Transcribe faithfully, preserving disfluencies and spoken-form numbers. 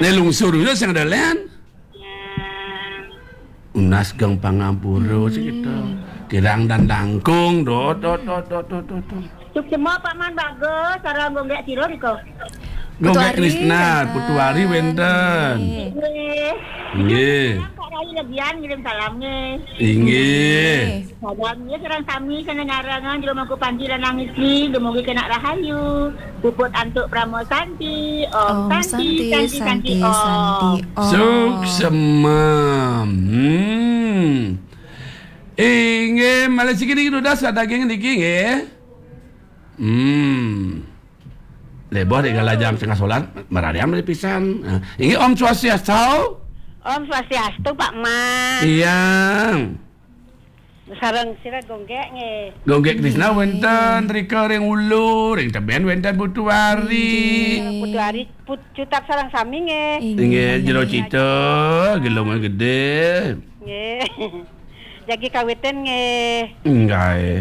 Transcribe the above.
Né lungsur yo sing ada lén. Unas gang pangampura sik to. Kirang dan langkung, dot, dot, dot, dot, dot, dot, dot. Suksma Pak Man bagus, sareng Gonggék sira nika. Gonggék Putu Ari Krisna, wénten. Putu Ari wénten. Nggih. Nggih. Nggih. Pak Rai Legian ngirim salam nggih. Inggih. Salam nggih sareng sami sing nyarengan jero mangku panci lan nangis nggih, dumugi kena rahayu. Puput antuk Pramo Santi. Om Om Santi, Santi, Santi, Santi, Santi, Santi, Om. Om. Suksma. Hmm. Inggih, malih siki niki dudas daging niki nggih. Hmm. Leboh di galajang setengah solat, marariam dari pisan. Nah, inggih Om Swastiastu. Om Swastiastu, Pak Man. Iya. Sareng sira Gonggék nggih. Gonggék Krisna wénten, rika ring ulu, ring tebén wénten Putu Ari. Nggih. Putu Ari, Put-, Cutat sareng sami nggih. Inggih, jero cita, gelungan gedé. Nggih. Jagi kawitin nggih. Nggih.